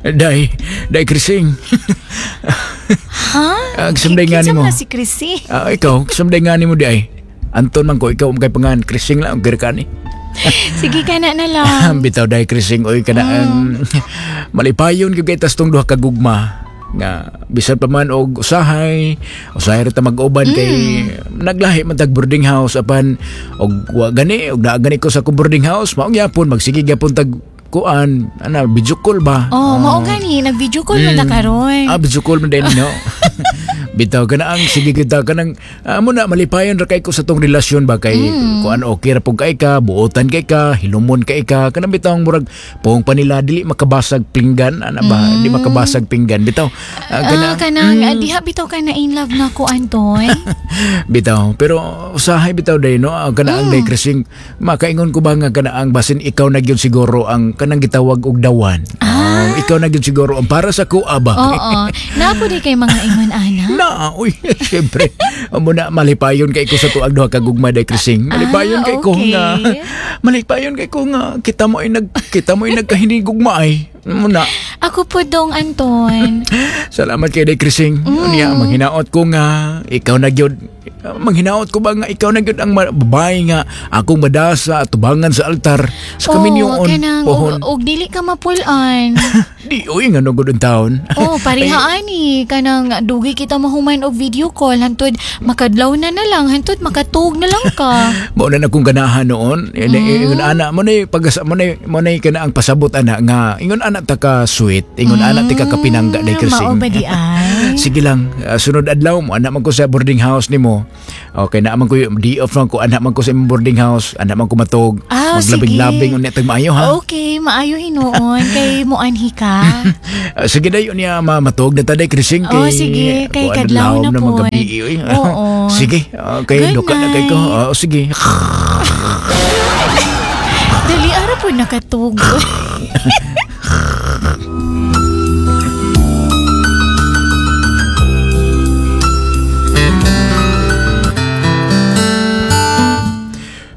Day, day Krising. Ha? Ah, sumday nga Kinsa nimo. man na si Chrissy? Ah, ikaw, sumday nga nimo di ay. Anton man ko, ikaw kay pangan Krising lang ang ni. Sige ka na na lang. Bitaw day Krising oy kana ang malipayon gyud kay tas tong duha ka gugma nga bisan pa man og usahay usahay ra ta mag-uban kay naglahi man tag boarding house apan og wa gani og naa gani ko sa akong boarding house mao gyapon magsige gyapon tag kuan ana video call ba. Oh, mao gani nag-video call man ta karon. Ah, video call man din, no? Bitaw ka na ang sige kita ka nang mo na malipayon ra kay ko sa tong relasyon ba kay kuan okay ra pug kay ka, buotan kay ka, hilumon kay ka, kanang bitaw ang murag pohong pa nila dili makabasag pinggan ana ba, di makabasag pinggan bitaw. Ah, Kanang kanang diha bitaw ka na in love na ko, Anton. Bitaw, pero usahay bitaw day no, kana ang day Krising, makaingon ko ba nga kana ang basin ikaw na gyud siguro ang kanang gitawag og dawan. Ah, ikaw na gyud siguro ang para sa kuha ba. Oo. Napo di kay mga ingon ana. Na, uy, syempre. Amo na malipayon kay ko sa tuag duha ka gugma day Krising. Malipayon kay ko nga. Malipayon kay ko nga kita mo ay nagkahinigugma ay. Mo na. Ako po dong, Anton. Salamat kay day Krising. Unya manghinaot ko nga ikaw na gyud. Manghinaot ko ba nga ikaw na gyud ang babae nga akong madasa at tubangan sa altar sa Oh, kaminyoon. kanang Pohon. og dili ka mapul-an. Di uy nga no gud ang taon. Oh, pareha ani kanang dugi kita mahuman og video call hantod makadlaw na na lang hantod makatug na lang ka. Mao na akong ganahan noon. Ingon ana mo na pagasa mo na kana ang pasabot ana nga ingon ana ta ka sweet, ingon ana ti ka kapinangga day Mao Krising. ba di ay? Sige lang, sunod adlaw mo anak man ko sa boarding house nimo. Okay na man ko di off man ko anak man ko sa imong boarding house, anak man ko matog. Ah, Maglabing-labing sige. unya tag maayo ha. Okay, maayo hinuon kay moanhi ka. Sige dayon niya matog na ta day Krising kay Oh, sige, kay kuan, kadlaw lahom na na pod. magabi, oy. Oo. Sige, okay, Good duka na kay ko. night. Oh, sige. Dali ara po nakatug.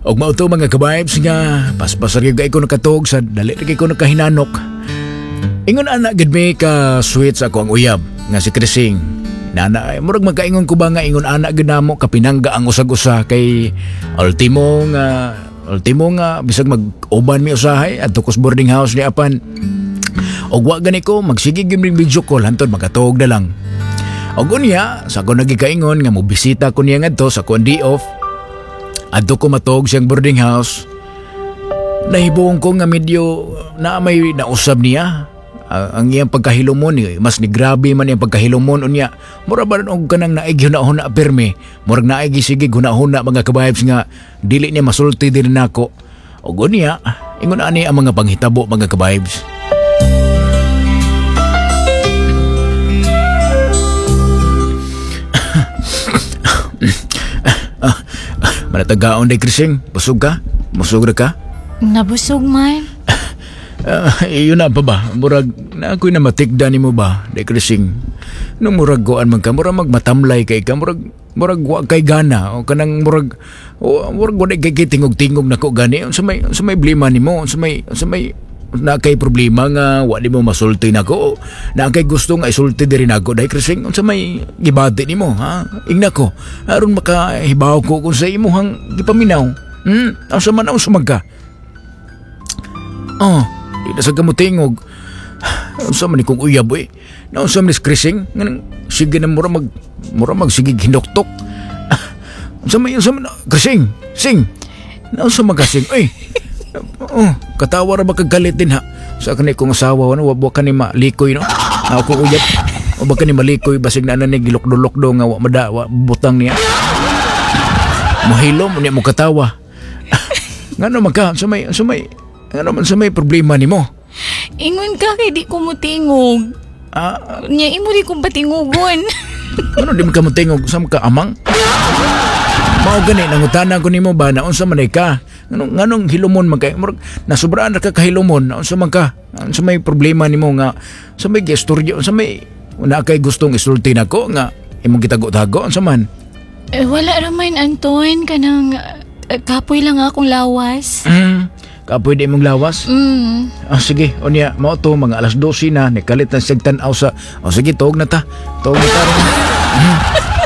Og mao to mga ka-vibes nga paspasar gyud kay ko nakatug sa dali ra kay ko nakahinanok. Ingon ana gid mi ka sweet sa ako ang uyab nga si Krising. Nana murag magkaingon ko ba nga ingon ana gid namo kapinangga ang usag-usa kay ultimo nga bisag mag-uban mi usahay adto ko sa boarding house ni apan og wa gani ko magsige gyud mig video call hantod makatuog na lang. Og unya sa ako nagikaingon nga mobisita ko niya ngadto sa akong day off. Adto ko matog siyang boarding house. Nahibuong ko nga medyo na may nausab niya. Ang iyang pagkahilumon, mas ni grabe man iyang pagkahilumon unya. Mura ba og kanang naig hunahuna pirmi. Murag naig sige hunahuna mga ka-vibes nga dili niya masulti din nako. Og unya, ingon ani ang mga panghitabo mga ka-vibes. Manatagaon day Krising, busog ka? Busog ra ka? Nabusog man. Iyon na pa ba? Murag, na ako'y namatikda ni mo ba, day Krising? Nung murag goan man ka, murag magmatamlay kay ka, murag wa kay gana, o kanang murag, o, murag wa kay tingog-tingog nako gani, unsa may blima nimo, unsa may na kay problema nga wa nimo masulti nako, na kay gusto nga isulti diri nako day Krising, unsa may gibati nimo ha? Ingna ko, aron makahibaw ko kung sa imuhang gipaminaw. Unsa man unsa man ka? Oh, di na sa kamutingog. Unsa man ni kong uyab eh. Naunsa man ni Krising, nganang sige na mura mag sige hinoktok. Unsa man Krising, sing. Naunsa man ka sing, oy. Oh, katawa ra ba kagalit din ha. Sa kani kong asawa ano, wa ka ni malikoy no. Ako uyab. O ba ka ni malikoy basig na ni gilokdo-lokdo nga wa mada wa butang niya. Mohilom unya mo katawa. Ngano man ka sa may ngano man sa may problema nimo? Ingon ka kay di ko motingog. Nya imo di ko patingugon. Ano di man ka motingog sa ka amang? Mao gani nangutana ko nimo ba na unsa man ka? Nganong hilumon man kay murag nasubraan ra ka kahilumon, unsa man ka? Unsa may problema nimo nga sa may gesturyo, unsa may na kay gustong isulti nako nga imong gitago-tago, unsa man? Eh, wala ra man Anton kanang kapoy lang akong lawas. Kapoy di imong lawas. Ah, sige, unya, mao to, mga alas 12 na, nikalit na siyag tan-aw sa, oh, sige, tuog na ta. Tuog na ta ron.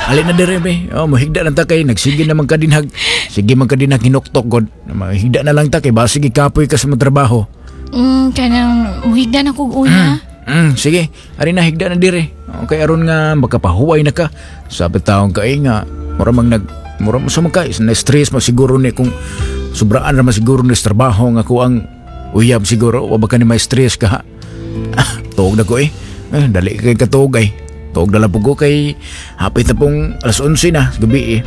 Alin na dire, be. Oh, mahigda na ta kay, nagsige naman ka dinhag. Sige man ka dinhag, hinuktok, god. Mahigda na lang ta kay, basig ikapoy ka sa mga trabaho. Kanang muhigda na kog una. Sige, ari na, higda na dire. Okay, aron nga makapahuway na ka. Sabi taong ka eh, nga, mura mang nag, mura mo sa mga ka, na-stress mo siguro ni kung sobraan ra man siguro ni sa trabaho nga ko ang uyab siguro, wa ba ka ni may stress ka ha? Ah, tuog na ko eh. Eh, dali kay katuog ay. Tuog na lang po ko kay hapit na pong alas 11 na, gabi eh.